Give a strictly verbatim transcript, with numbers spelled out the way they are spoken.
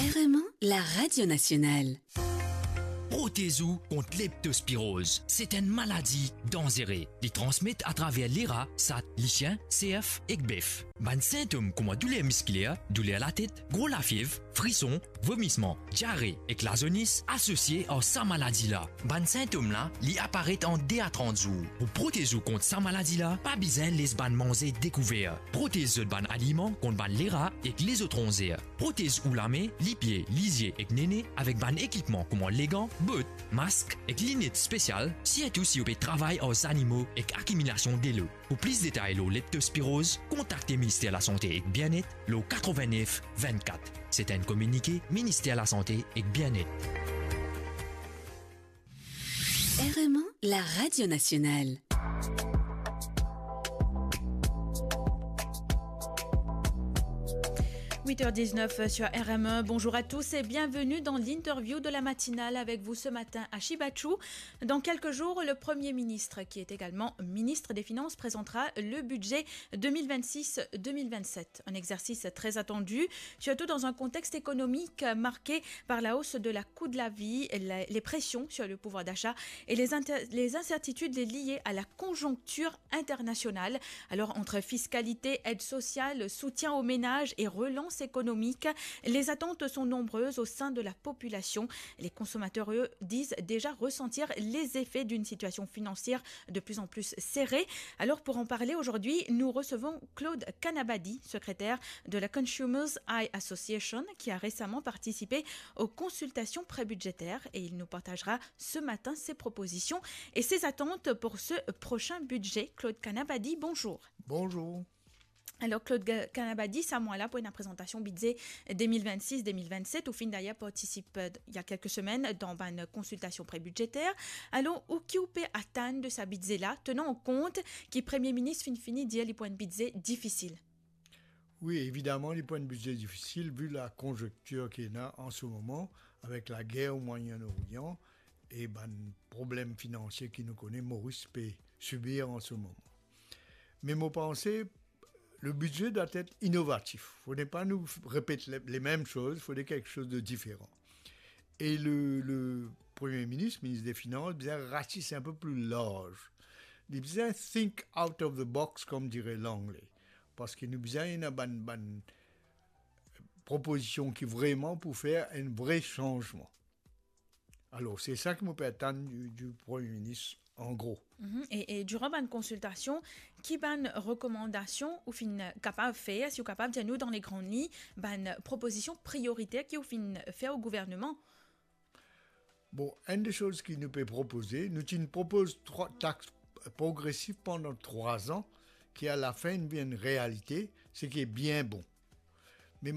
R M un, la radio nationale. Protez ou kont leptospiroz. Se enn maladi danzere. Li transmet atraver lera, sat, lisien, serf ek bef. Bann sintom kouma douler miskiler, douler latet, gro lafiev, frison, vomisman, diare ek lazonis asosie ar sa maladi la. Bann sintom la, li aparet an de a trant zour. Pou protez ou kont sa maladi la, pa bizin les bann manze dekouver. Protez zot bann aliman kont bann lera ek lezot ronzer. Protez ou lame, lipie, lizie ek nene avek bann ekipman kouma legan, bot, mask ek linet spesial, sirtou si ou pe travay ar zanimo ek akimilasion delo. Pou plis detay lor leptospiroz, kontakte Minister Lasante ek Bienet lor katrevin-nef vinn-kat. Se enn kominike Minister Lasante ek Bienet. R M un, la radio nationale. Huit heures dix-neuf sur R M un. Bonjour à tous et bienvenue dans l'interview de la matinale. Avec vous ce matin, Ashi Bachou. Dans quelques jours, le Premier ministre, qui est également ministre des Finances, présentera le budget deux mille vingt-six deux mille vingt-sept. Un exercice très attendu, surtout dans un contexte économique marqué par la hausse de la coût de la vie, la, les pressions sur le pouvoir d'achat et les inter-, les incertitudes liées à la conjoncture internationale. Alors, entre fiscalité, aide sociale, soutien aux ménages et relance économique, les attentes sont nombreuses au sein de la population. Les consommateurs, eux, disent déjà ressentir les effets d'une situation financière de plus en plus serrée. Alors, pour en parler aujourd'hui, nous recevons Claude Kanabadi, secrétaire de la Consumers Eye Association, qui a récemment participé aux consultations prébudgétaires, et il nous partagera ce matin ses propositions et ses attentes pour ce prochain budget. Claude Kanabadi, bonjour. Bonjour. Alors, Claude Ga-, Kanabadi, sa mwa la pou enn prezantasion bidze deux mille vingt-six deux mille vingt-sept, ou finn d'ailleurs partisip, euh, il y a quelques semaines, dan bann konsiltasion prébidjeter. Alors, ou ki ou pe atann de sa bidze la, tenant en compte ki Premie Minis finn fini dir li pou enn bidze difisil? Wi, evidaman, li pou enn bidze difisil, vi la konzonktir ki ena an se moman, avek lager o Moyen-Orient e bann problem finansie ki nou kone Moris pe sibir an se moman. Me mo panse, le bidze dwa et inovatif. Fode pa nou repet le, le mem soz, fode kiksoz de diferan. E le, le Premie Minis, Minis de Finans, bizin ratis enn pe pli larz. Li bizin think out of the box, kom dire Langle. Parski nou bizin ena bann, bann propozision ki vreman pou fer enn vre sanzman. Alor, se sa ki mo pe atann di, di Premie Minis, an gro. Mhm. E, e diran bann konsiltasion, ki bann rekomandasion ou finn kapav fer, si ou kapav dir nou dan le gran lign, bann propozision prioriter ki ou finn fer o gouvernman? Bon, enn de soz ki nou pe propoze, nou ti propoz trwa tax progresif pandan trwa an, ki alafin vinn realite, seki bien bon. Me